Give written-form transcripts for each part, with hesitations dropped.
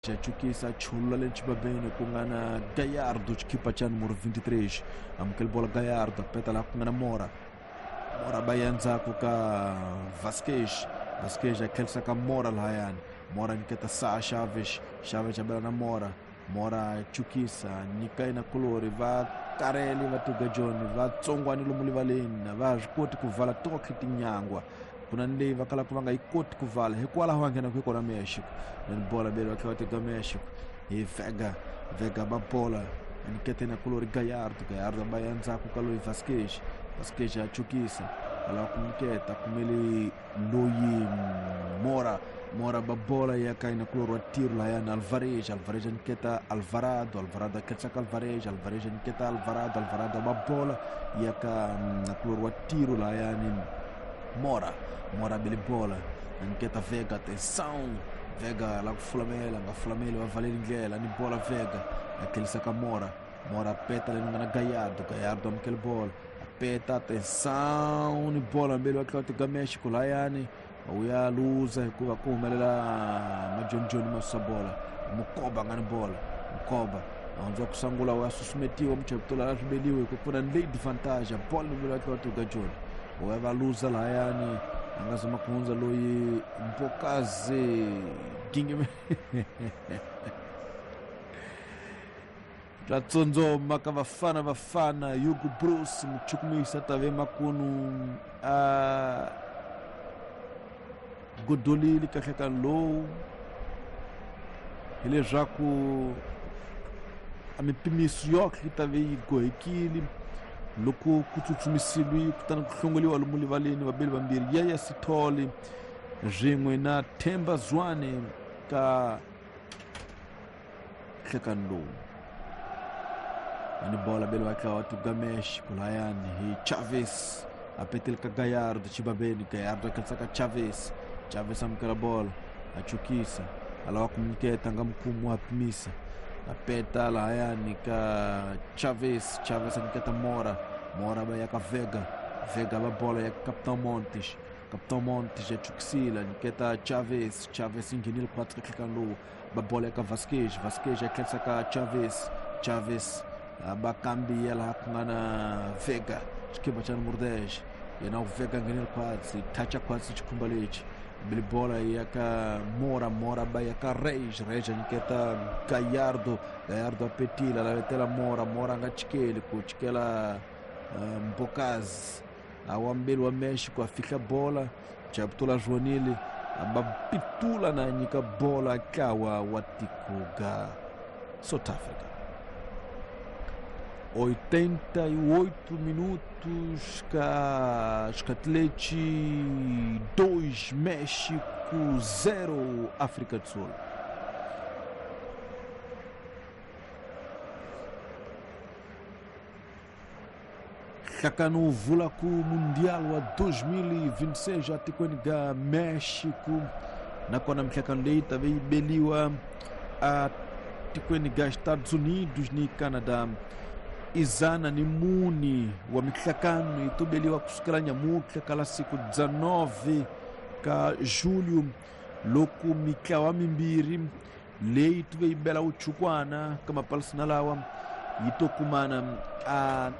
Chukisa chulula le xibabeni ku nga na Gallardo, xikipa xa numero 23, amukeli bola Gallardo, peta laha ku nga na Mora. Mora ba ya ndzhaku ka Vasquez, Vasquez a tlherisa ka Mora lahayani. Mora nyiketa Sa Chavez, Chavez a bela na Mora. Mora chukisa nyika yena kulori, va karele va tuga John, va tsongwani lomu rivaleni, va swi koti ku vala tokhe tinyangwa. Ku na ni leyi va kalaka va nga yi koti ku vala, hikwalaho va nghenaka hi kona Mexico. Ni bola beli va tlhela va teka Mexico hi Vega, Vega ba bola nyiketa yena kulori Gallardo, Gallardo ba ya ndzhaku ka loyi Vasquez, Vasquez a chukisa a lava ku nyiketa kumele loyi Mora, Mora ba bola ya ka yena kulori wa tiro lahayani Alvarez, Alvarez a nyiketa Alvarado, Alvarado a khetsa ka Alvarez, Alvarez a nyiketa Alvarado, Alvarado ba bola ya ka kulori wa tiro lahayani Mora, Mora bele bola nyiketa Vega, atenção Vega lá ku fulamela, nga fulameli va valeri ndlela ni bola Vega a tlherisa ka Mora, Mora peta le nga na Gallardo, Gallardo amukele bola peta, atenção ni bola mbeli va tlhela teka Mexico lahayani wu ya luza hikuva ku humelela majonijoni ma susa bola. Mukoba nga ni bola, Mukoba a hundza ku sungula wu ya susumetiwa muchaputula a swi beliwe hi ku pfuna ni late vantage bola mbeli va tlhela teka Joni wu ya va luza lahayani a nga zama ku hundza loyi Mbokazi Gingime swa tsondzoma ka Bafana Bafana. Hugo Bruce muchukumisa tave makunu a godolile kahle ka lowu, hileswaku a mipimiso yoxe yi ta ve yi gohekile loko ku tsutsumisiwi kutani ku hlongoliwa lomu rivaleni vabeli vambirhi, Yaya Sithole swin'we na Themba Zwane ka nhlekani lowu. Ani bola beli va tlawa tugamesh kulayani hi Chavez, a petele ka Gallardo xibabeni, Gallardo a khensa ka Chavez, Chavez amukela bola a chukisa a lava ku nyiketa nga mukhumu wa pimisa, a peta lahayani ka Chavez, Chavez a nyiketa Mora, Mora va ya ka Vega, Vega va bola ya Capitão Montes, Capitão Montes a chukisile a nyiketa Chavez, Chavez yi nghenile khwatsi ka nhlekani lowu, va bola ya ka Vasquez, Vasquez a tlherisa ka Chavez, Chavez va kambiya laha ku nga na Vega, xikipa xa numero 10, yena Vega nghenile khwatsi, thacha khwatsi xikhumba lexi bili bola ya ka Mora, Mora ba ya ka Reis, Reis a nyiketa Gallardo, Gallardo a petile a lavetela Mora, Mora a nga chikeli ku chikela Mbokazi a wa mbeli wa Mexico a fihla bola Chaputula Joanile va pitula na nyika bola ntlawa wa tiko ga South Africa. 88 minutos ka xikhatilexi 2 México 0 África do Sul. Nhlakano wu vula ku Mundial wa 2026 atikweni ga Mexico, nakona mihlakano leyi ta ve yi beliwa a tikweni ga Estados Unidos ni Canada. Izana ni muni wa mihlakano yi tobeliwa kusukela nyamutlha ka la siku 19 ka julho, loko mitlawa mimbirhi leyi tuve yi bela wuchukwana ka mapalisina lawa yi to kumana a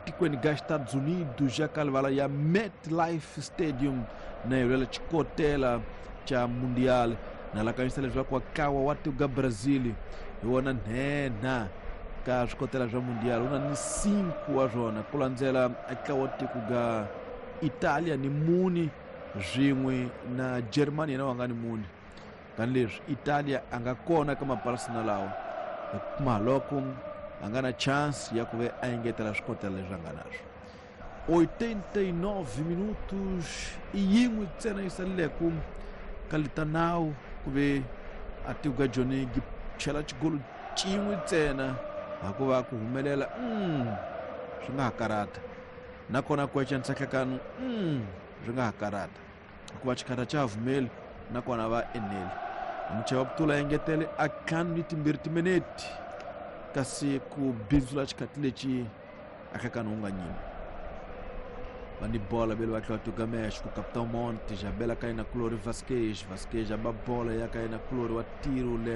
tikweni ga Estados Unidos ya ka livala ya MetLife Stadium na yi xikotela xa Mundial. Na lakanyisa leswaku ntlawa wa tiko ga Brazil hi wona nhenha ka swikotela swa Mundial, wu na ni 5 wa swona, ku landzela ntlawa wa tiko ga Italia ni muni swin'we na Germany yena wa nga ni muni. Tanihileswi Italia a nga kona ka mapalisina lawa, hikuva loko a nga na chance ya ku ve a engetela swikotela leswi a nga na swo. 89 minutos i yin'we ntsena yi saleleke ka litanawu ku ve a tiko ka Joni gi chela xigolo xin'we ntsena, hikuva ku humelela swi nga ha karata, nakona ku ecanisa nhlekano swi nga ha karata, hikuva xikhatha xa ha vumeli nakona va eneli. Muchaya wa Putula engetele a ntlhanu ni timbirhi timinete kasi ku bindzula xikhathi lexi a hlekani wu nga nyimi. Bani bola bele batla to Gamesh ku Capitão Montes, a bela cai na Clore Vasquez, Vasquez a bola ya cai na Clore wa tiro le